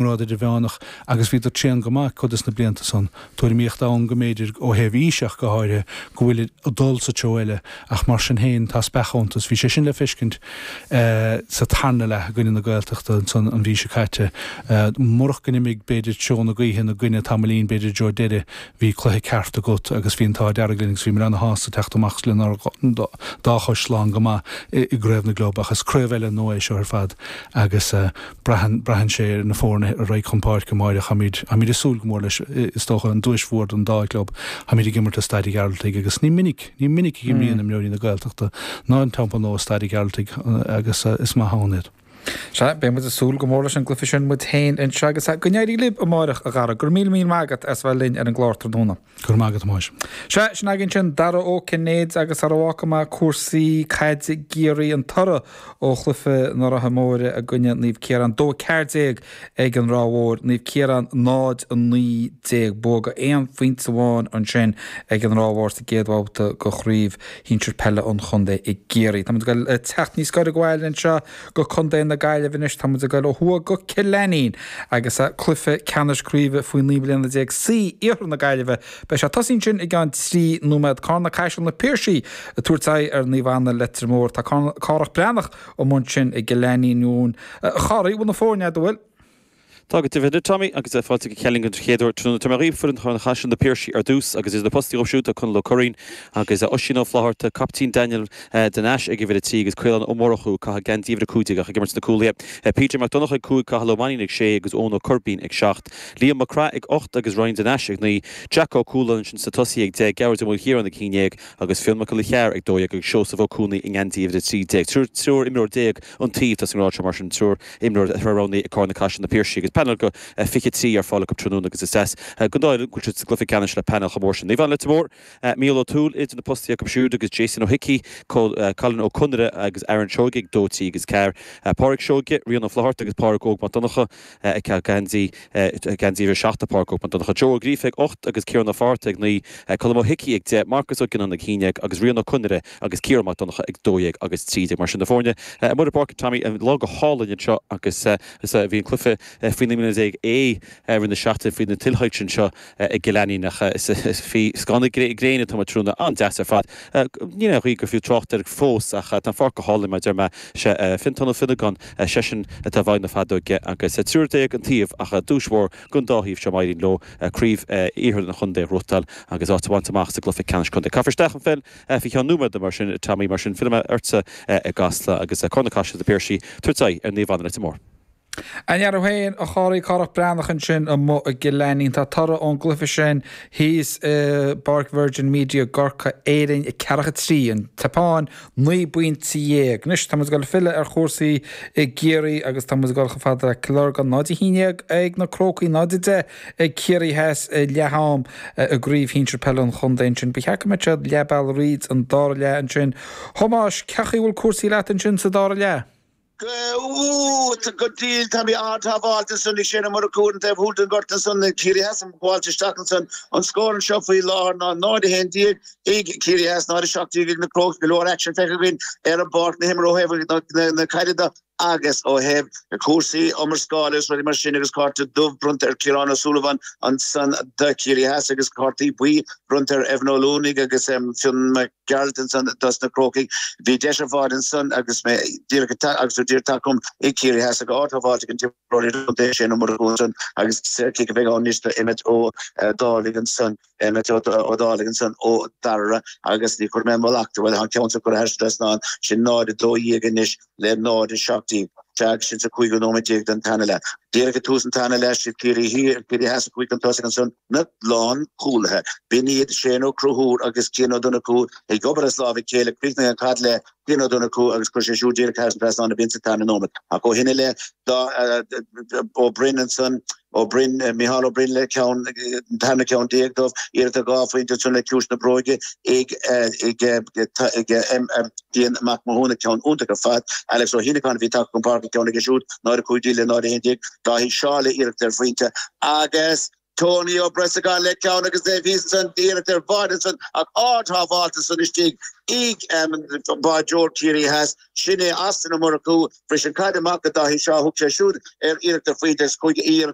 ngrád idirmheánach agus bhíodar tréan go maith cuid des na blianta san. Tuairimíocht ann go mb'fhéidir, ó thaobh aoise ach go háirithe, go bhfuilid ag dul sa treo eile ach mar sin féin tá speach iontu. Bhí sé sin le feiscint sa tarna leath i gcoinne na Gaeltachta ansan an mhí seo caite. Murach go n-imigh b'fhéidir treo na gaoithe ina gcoinne tamaillín b'fhéidir i dtreo deiridh bhí cluiche ceart agat agus bhí an t-ádh dearg linn agus bhíomar ana-shásta teacht amach lenár dá chois slán go maith i gCraobh na gClub ach is craobh eile nua é seo ar fad agus Braitheann, braitheann sé ar na foirne a raghaidh chun páirce amáireach. Táimid, táimid ag súil go mór leis, is dócha, an duais mhór don dá chlub. Táimid ag imirt i Staid an Ghearaltaigh agus ní minic, ní minic a imríonn imreoirí na Gaeltachta ná an Teampall Nua i Staid an Ghearaltaigh agus is maith ann iad. Sea, beidh muid ag súil go mór leis an gcluiche sin muid féin anseo agus go n-éirí libh amáireach, a Dhara. Go raibh míle míle maith agat as bheith linn ar an gclár tráthnóna. Go raibh maith agat, a Thomáis. Sea, sin againn sin Dara Ó Cinnéide agus sara bhfágfaidh mé cúrsaí caide i gCiarraí, an toradh ó chluiche na Ráithe Móire i gcoinne Naomh Ciarán, 2-14 ag an Ráth Mhór, Naomh Ciarán 0-19. Bua de aon phointe amháin ansin ag an Ráth Mhór sa gcéad bhabhta de chraobh shinsir peile an chontae i gCiarraí. Tá muid ag dul teacht níos gaire go bhaile anseo go Contae na Gaillimhe anois. Tá muid ag dul ó thuaidh go Cill Ainnín agus cluiche ceannais craoibhe faoi 19 mbliana C Iarthar na Gaillimhe. Beidh sé ag tosaí ansin i gceann 3 nóiméad. Carna Caiseal Na Piarsaigh ag tabhairt aghaidh ar Naomh Anna Leitir Móir. Tá Cárthach Breathnach amuigh ansin i gCill Ainnín. A Chárthaigh, bhfuil na foirne agat, an bhfuil? Tá go deimhin, a Tommy, agus fáilte go Cill Ainnín don chéad uair tráthnóna. Tabharfaidh mé dhaoibh foireann Charna Chaiseal Na Piarsaigh ar dtús agus idir na postaí dhóibh siúd tá Conall Ó Curraoin agus Oisín Ó Flaithearta, caiptín Daniel de Nais ag uimhir 3 agus Caolán Ó Murchú ag caitheamh geansaí uimhir 15 ach ag imirt sna cúlaithe. PJ Mac Donncha ag 5, Cathal Ó Mainnín ag 6 agus Eoin Ó Coirbín ag 7. Liam Mac Craith ag 8 agus Ryan de Nais ag 9. Jack Ó Cualáin ansin sna tosaithe ag 10, Gearóid Ó Maoilchiaráin ag 11 agus Fionn Mac Giolla Chearr ag 12 agus Seosamh Ó Cuanaigh i ngeansaí uimhir 13. Triúr imreoir déag an taobh atá sa ngrád seo mar sin triúr imreoir atá roghnaithe ag Carna Caiseal Na Piarsaigh agus painéal de 23 ar fáil acu tráthnóna agus is deas don dá fhoireann go bhfuil siad sa gcluiche ceannais le painéal chomh mór sin. Naomh Anna Leitir Móir, Mícheál Ó Tuathail idir na postaí acu siúd agus Jason Ó hIcí, Colin Ó Conaire agus Aaron Seoige ag 2, 3 agus 4. Pádraig Seoige, Rian Ó Flaithearta agus Pádraig Óg Mac Donncha ag caitheamh geansaí geansaí uimhir 7 Pádraig Óg Mac Donncha. Joe Ó Gríofa ag 8 agus Ciarán Ó Fátharta ag 9, Colm Ó hIcí ag 10, Marcus Ó Gionnáin ag 11 agus Rian Ó Conaire agus Ciarán Mac Donncha ag 12 agus 13. Mar sin na foirne amuigh ar an bpáirc, Tommy, an lá go hálainn anseo agus bhí an cluiche faoi 19 mbliana A roimh na seachtain faoi na tuilshoilse anseo i gCill Ainnín ach faoi scáth na gréine atá muid tráthnóna, an-deas ar fad. Níl aon ghaoth gur fiú trácht air fós ach tá an pháirc go hálainn mar a deir mé. Sé Fiontán Ó Fionnagáin, seisean atá i bhfeighil na feadóige agus triúr déag an taobh ach duais mhór don dá thaobh seo má éiríonn leo craobh iarthar an chontae a ghnóthachtáil agus áit a bhaint amach sa gcluiche ceannais contae. Caithfear isteach an pheil faoi cheann nóiméad mar sin, Tommy, mar sin fillfidh mé ortsa i gCasla agus Carna Caiseal Na Piarsaigh ag tabhairt aghaidh ar Naomh Anna Leitir Móir. An-fhear thú féin, a Chárthaigh, Cárthach Breathnach ansin amuigh i gCill Ainnín. Tá toradh ón gcluiche sin thíos i bPáirc Virgin Media i gCorcaigh, Éirinn 4, 3, an tSeapáin 19 bpointe. Anois tá muid ag dul ag filleadh ar chúrsaí i gCiarraí agus tá muid ag dul chomh fada le Cill Lorgan, 0, 11 ag na Crócaigh, 0, 10 ag Ciarraí Theas ag leath am i gcraobh shinsir peile an chontae ansin. Ba cheart go mbeadh siad leath bealaigh thríd an dara leath ansin. A Thomáis, cén chaoi a bhfuil cúrsaí leat ansin sa dara leath? Go diail, tá mé ard-shábháilte ansan ag Shane Ó Murchú ar an taobh thuaidh den ghort ansan ag Ciarraí Theas ag gabháilt isteach ansan. An scór anseo faoi láthair ná 0-11 ag Ciarraí Theas, 0-17 ag na Crócaigh. Go leor aicsean feicthe againn ar an bpáirc, na himreoirí ó thaobh na caide de agus ó thaobh cúrsaí iomrascála agus rudaí mar sin agus cárta dubh bronnta ar Ciarán Ó Súilleabháin ansan do Chiarraí Theas agus cártaí buí bronnta ar Evan Ó Luanaigh agus Fionn Mac Gearailt ansan dos na Crócaigh. Bhí deis ar fad ansan agus mé díreach ag agus tú díreach tagtha chugam ag Ciarraí Theas ag ard-shábháilte ag an t-imreoir idirchontae Shane Ó Murchú ansan agus saorchic a bheidh ann anois do Emmet Ó Dálaigh ansan, Emmet Ó Dálaigh ansan ó Dara agus ní chuir mé mo leacht, bhuel tá an ceann seo curtha thar an trasnán, sin 0-12 anois le 0-17. Sea agus sin sa cúigiú nóiméad déag den tarna leath. Díreach ag tús an tarna leath, siad Ciarraí Thiar, Ciarraí Theas a chuaigh chun tosaigh ansan. na lánchúlaithe. B'in iad Shane Ó Conchúir agus Cian Ó Donnchú ag obair as lámh a chéile. Chríochnaigh an chaid le Cian Ó Donnchú agus chuir sé siúd díreach thar an trasnán a b'in sa tarna nóiméad. Ach ó shin i leith, Ó Broin ansan, Ó Broin, Micheál Ó Broin le ceann, an tarna ceann déag dóibh, iarracht ar dhá phointe ansan le ciumhais na bróige ag ag ag Cian Mac Mathúna, ceann iontach ar fad. Alex Ó hIanacáin a bhí tagtha chun páirce, ceann aige siúd, 0-15 le 0-11. Dáithí Seála iarracht ar phointe agus. Tony Ó Breasagáin le ceann agus é thíos ansan, iarracht ar bháide ansan ach ard-shábháilt ansan istigh ag báideoir Ciarraí Theas. Sin é Austin Ó Murchú. Bhris an caid amach go Dáithí Shaw. Thug sé siúd ar iarracht ar phointe agus chuaigh iarracht.